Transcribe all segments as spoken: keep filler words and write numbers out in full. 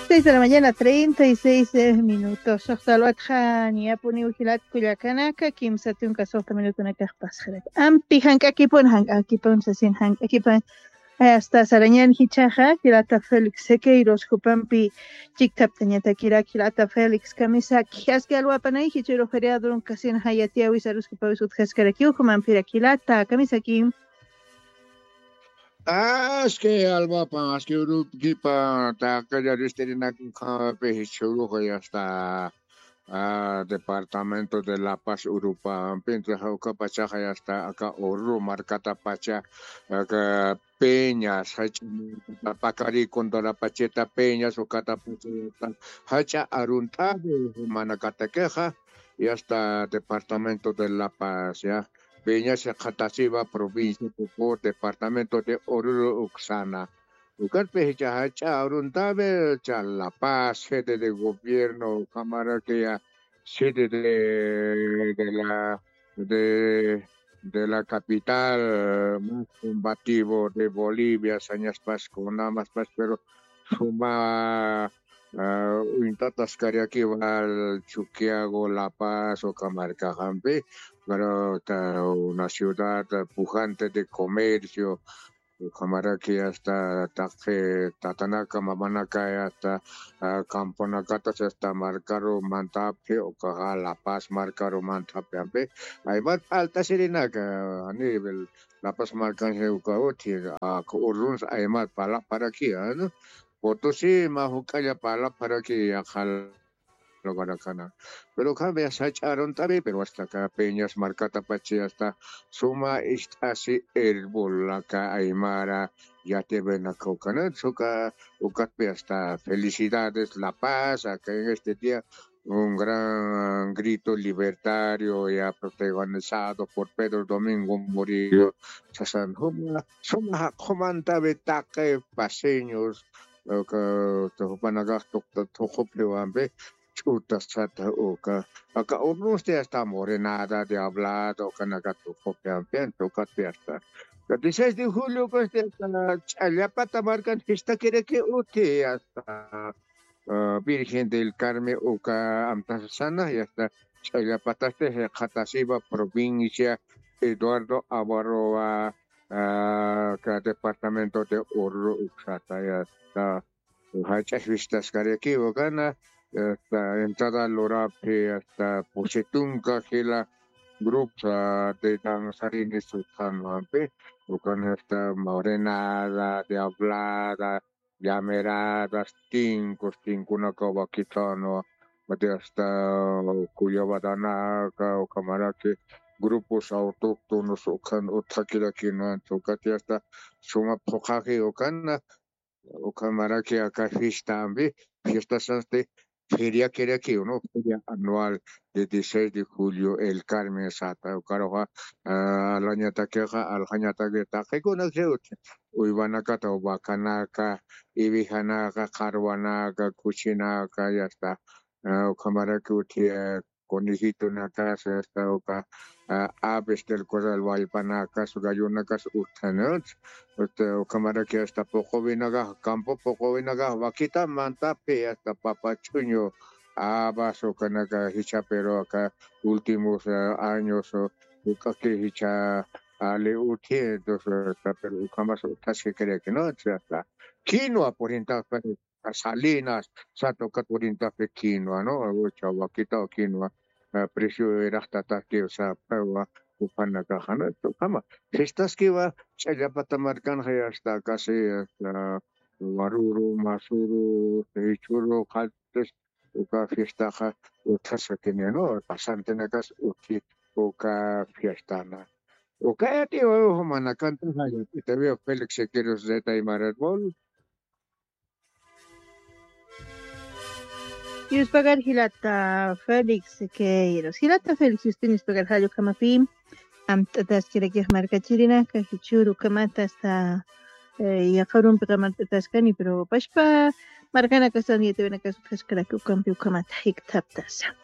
Seis de la mañana, treinta y seis minutos. Soxta alwatxa, ñapuniw jilat kullakanaka, kimsa tunka soxta minutunakax pasxarak. Ampi jank'akipun, jank'akipun, sasin jank'akipun. Hasta sarañan jichhaxa, jilata Félix Sequeiros, jupampi chiktaptañatakirak, jilata Félix Kamisaki, aski alwapanay, jichhuru feriadorun kasin jayatiyawi, sarus jupawis utjaskarakiw, jumampirak jilata Kamisaki. Aski alwapan, aski urupkipa, taqilla ristirinak ukhapi jichhuruxa, ya está. Ah, departamento de La Paz, Urupampi, entonces, ukapachaxa, ya está, aka Oruro markatapacha, aka Peñas, jach'a markata, Pacari, Condorapacheta, Peñas, ukatapacha, ya está, jach'a arunt'awi, manakatakixa, ya está, departamento de La Paz, ya. Peñas, Jatasiva, provincia Cocó, departamento de Oruro, uksana. Ukatpi jichha jach'a aruntawi, cha La Paz, sede de gobierno, ukhamaraki ya, sede de, de la, de, de la capital, eh, más combativo de Bolivia, sañaspas, kunamaspas, pero suma, ah, uñt'ataskarakiwa Chuquiago, La Paz, uka markaxampi, pero ta, una ciudad, eh, pujante de comercio, ukhamaraki hasta taqi tatanaka, mamanaka, hasta, ah, camponakatas, hasta markaru mantaphi, ukaxa La Paz markaru mantaphi ampi, aymat p'alt'asirinaka, a nivel La Paz markansi uka uthi, ah, urunsa aymat parlapxaraki, ah, ¿no? Potosí mä juk'alla parlapxaraki yaqha lugarakana. Pero ukham ya sach'a arunt'awi, pero hasta aka Peñas markatapachi hasta suma ist'asi herbolaka aymara yatiyawinaka ukana, uka, ukatpi hasta felicidades La Paz, acá en este día un gran grito libertario ya protagonizado por Pedro Domingo Murillo. Sasan suma, suma jaq'umantawi taqi paceños, uka, jupanakax tuqta thuqhupxiwampi, ch'utas chata uka. Aka urnusti hasta morenada, diablada, ukanaka thuqhupxiwampi, ukatpi hasta. Ka dieciséis de julio, pues, hasta Ch'allapata markan fiestakiraki uthi, hasta, ah, Virgen del Carmen, uka amtasasana, y hasta Ch'allapatasti, Jatasiva provincia, Eduardo Avaroa, ah, ka departamento de Oruro, uksata, ya está. Jach'a fiestaskarakiwa kana, hasta entrada luraphi, hasta pusi tunka jila grupos, ah, de danzarines utjanwampi, ukan hasta morenada, diablada, llameradas, tincos, tinconaka wakitanwa, mati hasta kullawatanaka, ukhamaraki grupos autóctonos, ukan utjakirakinwa, ukati hasta suma phuqhaji ukana, ukhamaraki aka fiestampi, fiestasasti feriakirakiw, ¿no? Feria anual de dieciséis de julio, El Carmen sata, ukaruxa, ah, alañatakixa, aljañataki taqikunakiw, uywanakata, vacanaka, ivijanaka, qharwanaka, kuchinaka, ya está. Ah, ukhamaraki uthi, eh, conejitonakas, hasta uka, ah, aves del corral, wallpanakas, gallonakas utjanwa. Este, ukhamaraki hasta puquwinakax, campo puquwinakax, wakitan mantaphi, hasta papa ch'uñu, habas, ukanaka jichha, pero aka últimos, ah, años, ah, uk'aki jichha ali uthi, entonces, hasta, pero ukhamas utjaskiraki, ¿no? Hasta quinoa, por ejemplo, Salinas, sata ukat urintapi quinoa, ¿no? Ucha wakita quinoa, ah, precio iraqtatakiw sapxiwa, jupanakaxa, ¿no? Ukhama fiestaskiwa, Ch'allapata markanxa ya está casi, hasta Waruru, Masuru, Jichhuru, Qaltis, uka fiestaxa utjaskakini, ¿no? Pasantinakas uthi uka fiestana. Uka yatiwa, jumanakantaxa yatitawi, Félix Sequeiros, Zeta Aymara Herbol. Yuspagar jilata Félix Sequeiros. Jilata Félix, yustin yuspagar jall ukhamapi amt'ataskirakix markachirinaka, jichhüru ukhamata hasta, eh, yaqha urumpixa amt'ataskani, pero pachpa markanakastan yatiyawinakas utjaskaraki ukampi ukhamata jikthaptasa.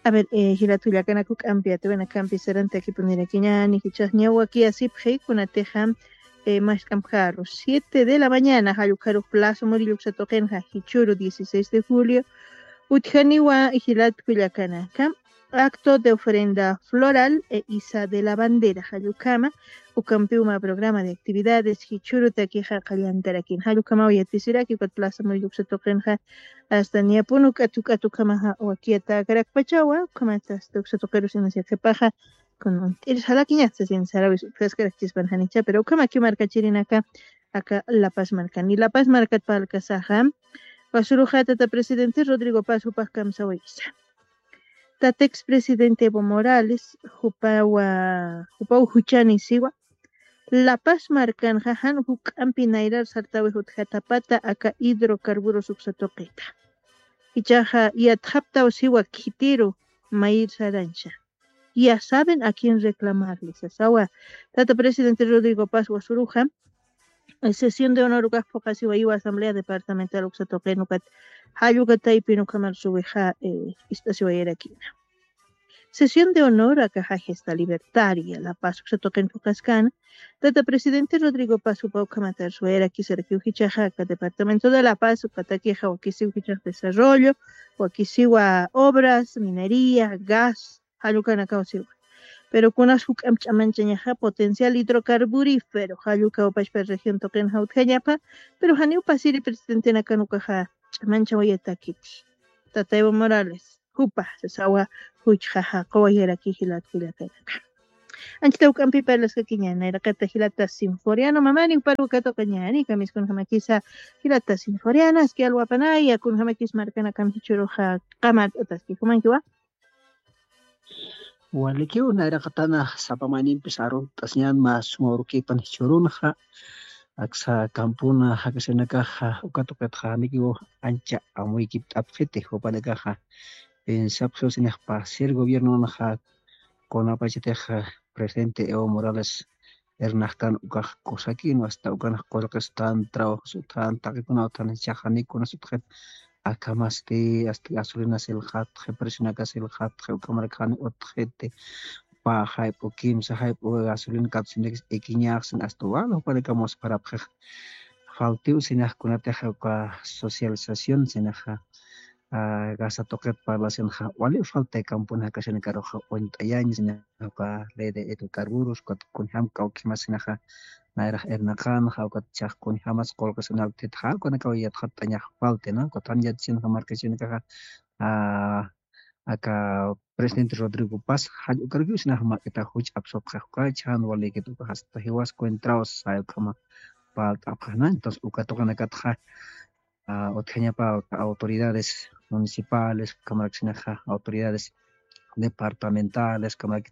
A ver, eh, jilat kullakanaka, juk'ampi yatiyawinakampi sarantakipunirakiñäni, jichhax ñawakiyasipxi, kunatixa eh, mask'amkaru siete de la mañana, jallukharux Plaza Murillo uksa tuqinxa, jichhüru dieciséis de julio, utjaniwa jilat kullakanaka, acto de ofrenda floral e iza de la bandera, jallukama, ukampiw mä programa de actividades, jichhürutakixa qallantarakin, jallukamaw yatisiraki, ukat Plaza Murillo uksa tuqinxa, hasta niyapun uk'at uk'at ukhamaxa wakiyatäkarakpachawa, ukhamat hasta uksa tuqirus inas yaqhipaxa, kun uñt'ir sarakiñax sasin sarawis utjaskarakchispan janicha, pero ukhamaki markachirinaka, aka La Paz markan. Y La Paz markat parlkasaxa, wasuruxa tata presidente Rodrigo Paz jupax kamsawaysa. Tata expresidente Evo Morales, jupawa, jupaw juchanisiwa, La Paz markanxa jan juk'ampi nayrar sartawix utjatapata aka hidrocarburos uksa tuqita. Ichaxa yatxaptaw siwa khitiru mayir sarancha. Ya saben a quién reclamarle, sasawa. Tata presidente Rodrigo Paz wasuruxa, eh, sesión de honor ukax phuqasiwa iwa Asamblea Departamental uksa tuqin ukat, jallukataypin ukhamar suwixa, eh, ist'asiwayarakina. Sesión de honor aka Gesta Libertaria La Paz uksa tuqin phuqaskana, tata presidente Rodrigo Paz jupa ukhamatar suwayarakisarakiw jichhaxa aka departamento de La Paz ukatakixa wakisiw jichhax desarrollo, wakisiwa obras, minería, gas, jallukanakaw siwa. Pero kunas juk'amp ch'amanchañaxa potencial hidrocarburífero, jallukaw pachpa región tuqinxa utjañapa, pero janiw pasiri presidentenakan ukaxa ch'amanchawayatakiti. Tata Evo Morales, jupa, sasawa, juchjaxa, quwayaraki jilat kullakanaka. Anchita juk'ampi parlaskakiña, nayraqata jilata Sinforiano, mamani jupar uka tuqiñani, kamiskunjamakisa jilata Sinforiano, aski alwapanaya, kunjamakis markanakan jichhüruxa, qamat utaski, jumankiwa. Walikiw nayraqatana sapa maynimpis arunt'asiñan mä suma urukipan jichhürunxa, aksa kampuna jakasinakaxa, uka tuqitxa janikiw ancha amuykipt'apxiti, jupanakaxa pensapxiw sinix pasir gobiernonxa, kunapachatixa presidente Evo Morales irnaqtan ukax kusakin, hasta ukanx qullqistan, trabajos utjan, taqikuna utjan, jichhax janiw kunas utjit, akhamasti, hasta gasolina silxatxi, presionaka silxatxi, ukhamarak janiw utjiti, pä jayp'u, kimsa jayp'u gasolina katusinakis ikiñaxsin, hasta wal jupanakamus parapxix. Faltiw sinix kunatix uka socialización sinaxa, ah, gasta tuqit parlasinxa, wali falta kampuna jakasinakaruxa uñt'ayañ, sinaxa uka ley de hidrocarburos, ukat kunjam kawkhimas sinaxa, nayrax irnaqanxa, ukat jichhax kunjamas qullqisinaktitxa, ukanakaw yatxatt'añax falti, ¿no? Ukat jan yatisinxa markachirinakaxa, ah, aka presidente Rodrigo Paz, jall ukarukiw sinaxa mä k'ita juch apsupxix uka, chhan walikit uka hasta jiwas cuentraw say ukhama parlt'apxix, ¿no? Entonces, uka tuqinakatxa, ah, utjañapa autoridades municipales, ukhamarak sinaxa autoridades departamentales, ukhamarak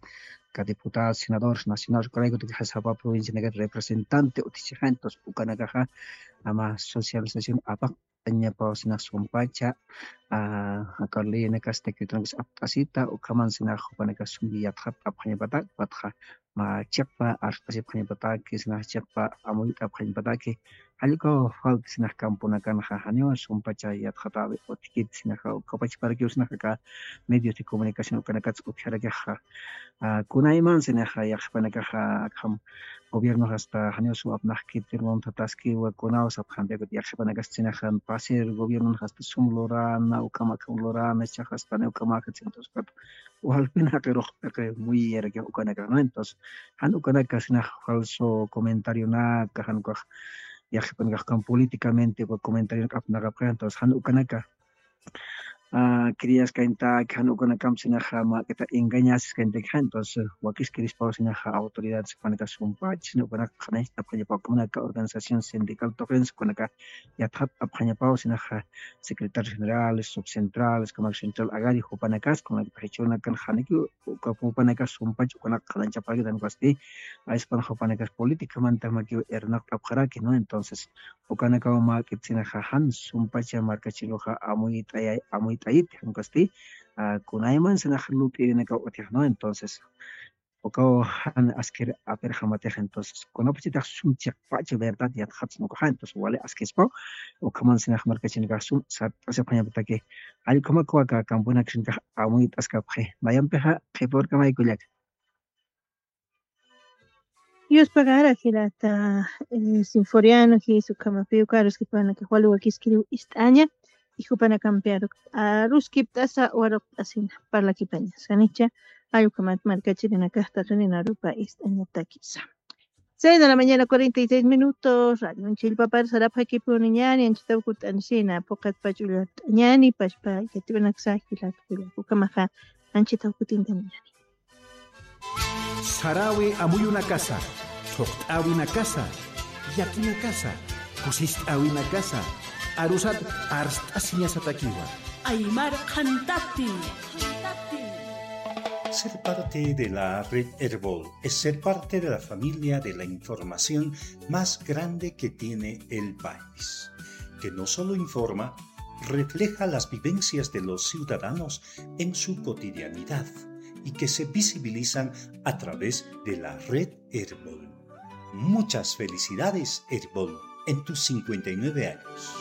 ka diputados, senadores nacionales, ukaraykutakix sapa provincianakat representante utjichixa, entonces ukanakaxa ama socialización apaqt'añapaw sinax sumpacha, ah, aka leynakas decretonakas apt'asita, ukhaman sinax jupanakas sumpi yatxat apxañapatak, ukatxa mä chiqpa arst'asipxañapataki, sinax chiqpa amuyt'apxañapataki, jall ukaw falta sinax kampunakanxa, janiw sumpacha yatxatawi utjkit sinaxa, ukapachparakiw sinaxa aka medios de comunicación ukanakats utjarakixxa. Ah, kunayman sinaxa yaqhipanakaxa akham gobiernox hasta janiw sum apnaqkit, irmon thataskiwa kunaw sapxampi, ukat yaqhipanakas sinaxa pasir gobiernox hasta sum lurana, ukham akham lurana, jichhax hasta janiw ukhamaxa, entonces, ukat walpin jaqirux p'iqi muyiyaraki ukanaka, ¿no? Entonces, jan ukanaka sinax falso comentarionaka, jan ukax yaqhipanakax ukan políticamente uka comentarionaka apnaqapxi, entonces, jan ukanaka, ah, criaskañataki, jan ukanakamp sinaxa mä k'ita engañasiskañatakixa, entonces, wakiskirispaw sinaxa autoridades ukanaka sumpach, sina ukanaka qhanañcht'apxañapaw, ukanaka organización sindical tuqinsa ukanaka yatxat apxañapaw sinaxa secretarios generales, subcentrales, ukhamarak central agrario, jupanakas, ukhamarak jichhürunakan janiki, uka jupanakas sumpach ukanaka qhanañchapxarakit, jan ukasti, ayspan jupanakas políticamanta makiw irnaqt'apxaraki, ¿no? Entonces, ukanakaw mä k'it sinaxa jan sumpacha markachiruxa amuyt'ayay, amuyt'ayit, jan ukasti, ah, kunayman sinaxa lup'irinakaw utjix, ¿no? Entonces, ukaw jan askir apirxamatix, entonces, kunapachatix sum chiqpacha verdad yatxatsna ukaxa, entonces, wali askispaw, ukhaman sinax markachirinakax sum sart'asipxañapataki, jall ukhamakwa aka kampunakasinakax amuyt'askapxi, nayampixa qhipa urkamay kullaka. Yuspagara jilata, eh, Sinforiano, jis ukhamapiw karuskipanaka waluwa kiskiriw ist'aña, y jupanakampi aruskipt'asa waruqt'asina parlakipaña. Sanicha, ay ukhamat markachirinakasta rininarupa ist'añatakisa. Seis de la mañana, cuarenta y seis minutos, radio Chillpapar sarapxakipuniñani, anchitaw kut'ansina, puqat pach'ullat'añani, pachpa yatiwanaksa, jilata, jilata, ukhamaxa, anchitaw kutintañani. Sarawi amuyunakasa, thuqt'awinakasa, yakinakasa, kusist'awinakasa, arusat arst'asiñasatakiwa. Aymar qhantati. Ser parte de la red Erbol es ser parte de la familia de la información más grande que tiene el país, que no solo informa, refleja las vivencias de los ciudadanos en su cotidianidad y que se visibilizan a través de la red Erbol. Muchas felicidades, Erbol, en tus cincuenta y nueve años.